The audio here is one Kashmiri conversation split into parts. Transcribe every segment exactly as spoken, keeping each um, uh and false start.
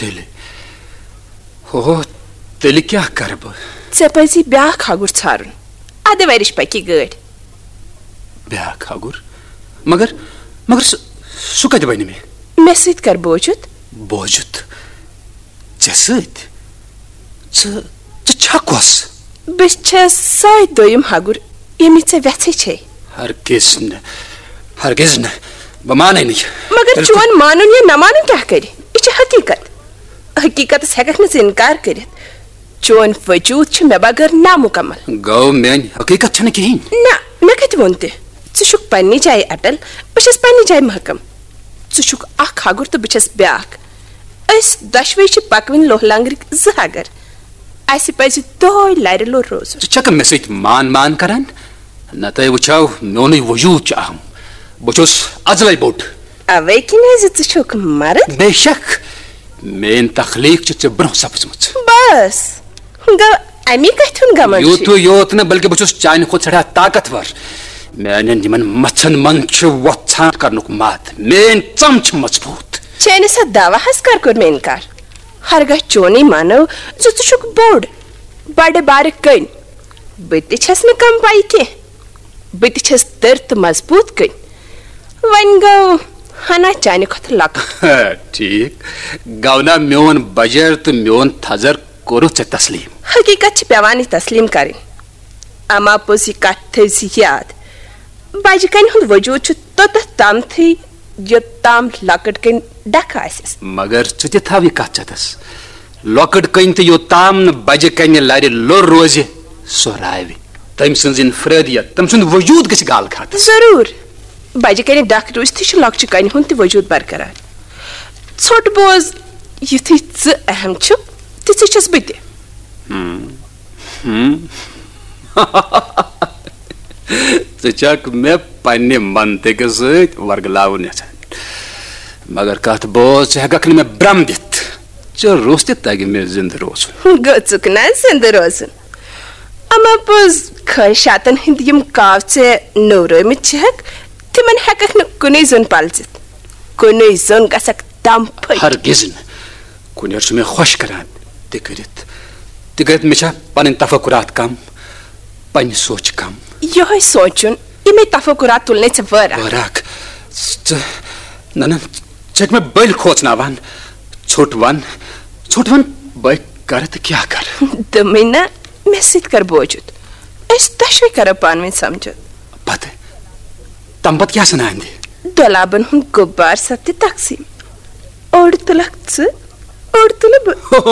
تیٚلہِ، ہو، تیٚلہِ کیٛاہ کرٕ بہٕ؟ ژےٚ پزی بیٛاکھ ہگُر ژھارُن۔ ادٕ ورِش پکی گٲڑۍ۔ بیٛاکھ ہگُر؟ مگر، مگر سُہ، سُہ کتہِ بنہِ مےٚ؟ مےٚ سۭتۍ کر بوجُت۔ بوجُت؟ ژےٚ سۭتۍ؟ ژٕ، ژٕ چھکھ کۄس؟ بہٕ چھَس سۄے دوٚیِم ہگُر، ییٚمِچ ژےٚ وٮ۪ژھٕے چھے۔ ہرگز نہٕ، ہرگز نہٕ، بہٕ مانَے نہٕ یہِ۔ مگر تیٚلہِ چون مانُن یا نہ مانُن کیٛاہ کرِ؟ یہِ چھِ حقیٖقت۔ حقیٖقتس ہٮ۪ککھ نہٕ ژٕ اِنکار کٔرِتھ۔ چون وجوٗد چھُ مےٚ بغٲر نامُکمل۔ گوٚو میٲنۍ حقیٖقت چھنہٕ کِہیٖنۍ؟ نہ، مےٚ کتہِ ووٚن تہِ؟ ژٕ چھُکھ پننہِ جایہِ اٹل، بہٕ چھَس پننہِ جایہِ محکم۔ ژٕ چھُکھ اکھ ہگُر تہٕ بہٕ چھَس بیٛاکھ۔ أسۍ دۄشوے چھِ پکوٕنۍ لوہ لنگرٕکۍ زٕ ہگر۔ اسہِ پزِ دۄہے لرِ لوٚر روزُن۔ ژٕ چھکھ مےٚ سۭتۍ مان مان کران؟ نتہٕ وٕچھو، میونُے وجوٗد چھُ اہم۔ بہٕ چھُس ازلے بوٚڑ۔ اوے کِنۍ زِ ژٕ چھُکھ مرد۔ بے شک، میٲنۍ تخلیٖق چھِ ژےٚ برونٛہہ سپٕزمٕژ۔ بس، گوٚو امی کتھِ ہُنٛد گمنڈ چھُے؟ یوٗتُے یوت نہٕ، بلکہِ بہٕ چھُس چانہِ کھۄتہٕ سٮ۪ٹھاہ طاقتور۔ میانٮ۪ن یِمن مژھن منٛز چھُ وۄژھان کرنُک مد۔ میٲنۍ ژم چھِ مضبوٗط۔ چٲنِس اتھ دعواہس کر کوٚر مےٚ انکار؟ ہرگاہ چونُے مانو زِ ژٕ چھُکھ بوٚڑ، بڑٕ بارٕ کٔنۍ۔ بہٕ تہِ چھَس نہٕ کم پایہِ کینٛہہ۔ بہٕ تہِ چھَس تٔر تہٕ مضبوٗط کٔنۍ۔ وۄنۍ گوٚو ہنا چانہِ کھۄتہٕ لۄکُٹ۔ ٹھیٖک۔ گونا میون بجر تہٕ میون تھزر کوٚرُتھ ژےٚ تسلیٖم؟ حقیٖقت چھِ پٮ۪وان یہِ تسلیٖم کرٕنۍ۔ اما پوٚز یہِ کتھ تھٲوۍ زِ یاد، بجہِ کنہِ ہُنٛد وجوٗد چھُ توٚتتھ تام تھٕے، یوٚتام لۄکٕٹ کنہِ ڈکھٕ آسٮ۪س۔ مگر ژٕ تہِ تھاو یہِ کتھ چتس۔ لۄکٕٹ کنہِ تہٕ یوٚتام نہٕ بجہِ کنہِ لرِ لوٚر روزِ، سۄ راوِ۔ تٔمۍ سٕنٛز انفرٲدیت، تٔمۍ سُنٛد وجوٗد گژھِ گالہٕ کھاتس۔ ضروٗر۔ بجہِ کنہِ ڈکھ روٗزتھٕے چھُ لۄکچہِ کنہِ ہُنٛد تہِ وجوٗد برقرار۔ ژھوٚٹ بوز، یُتھُے ژٕ اہم چھُکھ، تِژھٕے چھَس بہٕ تہِ۔ ہم۔ ہم۔ ژٕ چھکھ مےٚ پننہِ منطقہٕ سۭتۍ ورگلاوُن یژھان، مگر کتھ بوز، ژٕ ہٮ۪ککھ نہٕ مےٚ برم دِتھ۔ ژےٚ روٚس تہِ تگہِ مےٚ زندٕ روزُن۔ گوٚژھُکھ نا زندٕ روزُن؟ اما پوٚز، خٲہِشاتن ہٕنٛدۍ یِم کاو ژےٚ نوٚورٲومٕتۍ چھِہکھ، تِمن ہٮ۪ککھ نہٕ کُنُے زوٚن پلزِتھ۔ کُنُے زوٚن گژھکھ دم پھٔٹۍ۔ ہرگز نہٕ۔ کُنہِ چھُ مےٚ خۄش کران تہِ کٔرِتھ۔ تہِ کٔرِتھ مےٚ چھا پنٕنۍ تفکرات کم، پننہِ سونچہِ کم؟ یِہوٚے سونچُن، یِمے تفکرات تُلنے ژےٚ وٲرکھ۔ وٲرکھ؟ ژٕ، نہ، نہ، ژٕ چھکھ مےٚ بٔلۍ کھوژناوان۔ ژھوٚٹ ون، ژھوٚٹ ون، بہٕ کرٕ تہٕ کیٛاہ کرٕ؟ دوٚپمَے نہ، مےٚ سۭتۍ کر بوجُت۔ أسۍ دۄشوے کرو پانہٕ ؤنۍ سمجھوتہٕ۔ پتہٕ؟ تمہِ پتہٕ کیٛاہ سنا اندِ؟ دۄلابن ہُنٛد غُبار سپدِ تقسیٖم۔ اوٚڑ تُلکھ ژٕ، اوٚڑ تُلہٕ بہٕ۔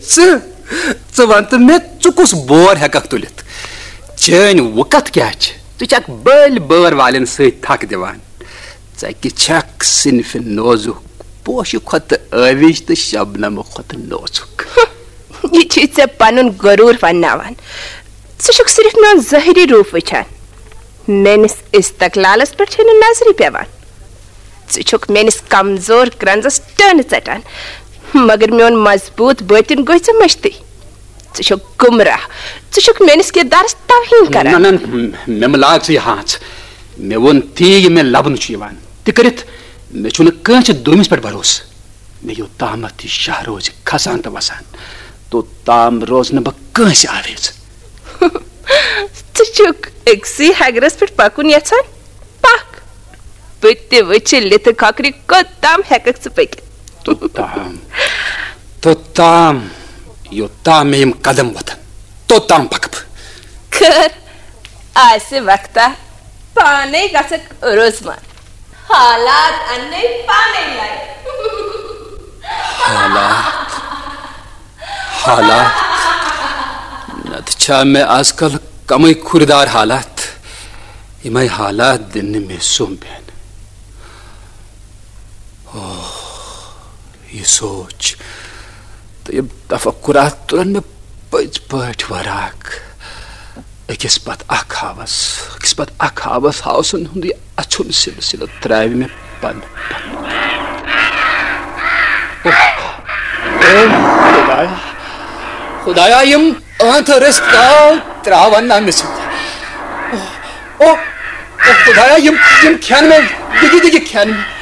ژٕ، ژٕ وَن تہٕ مےٚ، ژٕ کُس بور ہٮ۪ککھ تُلِتھ؟ چٲنۍ وُکتھ کیٛاہ چھِ؟ ژٕ چھکھ بٔلۍ بٲر والٮ۪ن سۭتۍ تھکھ دِوان۔ ژٕ کہِ چھکھ صنفِ نوزُک، پوشہِ کھۄتہٕ ٲوِج تہٕ شبنمہٕ کھۄتہٕ نوزُک۔ یہِ چھُے ژےٚ پنُن غروٗر ونناوان۔ ژٕ چھُکھ صرف میون ظٲہری روٗپ وٕچھان۔ میٲنِس استقلالس پٮ۪ٹھ چھے نہٕ نظرٕے پٮ۪وان۔ ژٕ چھُکھ میٲنِس کمزور کرنزس ٹٲنہٕ ژٹان، مگر میون مضبوٗط بٲطِن گوٚے ژےٚ مٔشتٕے۔ ژٕ چھُکھ گمراہ۔ ژٕ چھُکھ میٲنِس کردارس توہین کران۔ نہ، نہ، مےٚ مہٕ لاگ ژٕ یہِ ہانٛژ۔ مےٚ ووٚن تی، یہِ مےٚ لبنہٕ چھُ یِوان۔ تہِ کٔرِتھ، مےٚ چھُنہٕ کٲنٛسہِ دوٚیمِس پٮ۪ٹھ بھروسہٕ۔ مےٚ یوٚتامَتھ یہِ شاہ روزِ کھسان تہٕ وسان، توٚتام روزٕ نہٕ بہٕ کٲنٛسہِ آویز۔ ژٕ چھُکھ أکسٕے ہگرس پٮ۪ٹھ پکُن یژھان؟ پکھ، بہٕ تہِ وٕچھِ لِتھٕ کھۄکھرِ کوٚت تام ہٮ۪ککھ ژٕ پٔکِتھ۔ توٚتام، توٚتام، یوٚتام مےٚ یِم قدم وۄتھن، توٚتام پکہٕ بہٕ۔ خٲر، آسہِ وقتہ، پانے گژھکھ روزمان۔ حالات انے پانے لڑ۔ حالات، حالات۔ نتہٕ چھا مےٚ از کل کمٕے کھُردار حالات؟ یِمے حالات دِن نہٕ مےٚ سوٚمبٮ۪ن۔ اوہ، یہِ سونٛچ تہٕ یِم تفکرات تُلن مےٚ پٔزۍ پٲٹھۍ وراک۔ أکِس پتہٕ اکھ ہاوس، أکِس پتہٕ اکھ ہاوس، ہاوسن ہُنٛدُے اَژھُن سلسلہٕ ترٛاوِ مےٚ پنہٕ پنہٕ۔ اوہ، اوہ، خدایا، خدایا، یِم ٲنٛتھٕ رٔسۍ کاو ترٛاون نا مےٚ سۭتۍ۔ اوہ، اوہ، اوہ، خدایا، یِم، یِم کھٮ۪ن مےٚ، دِگہِ دِگہِ کھٮ۪ن مےٚ۔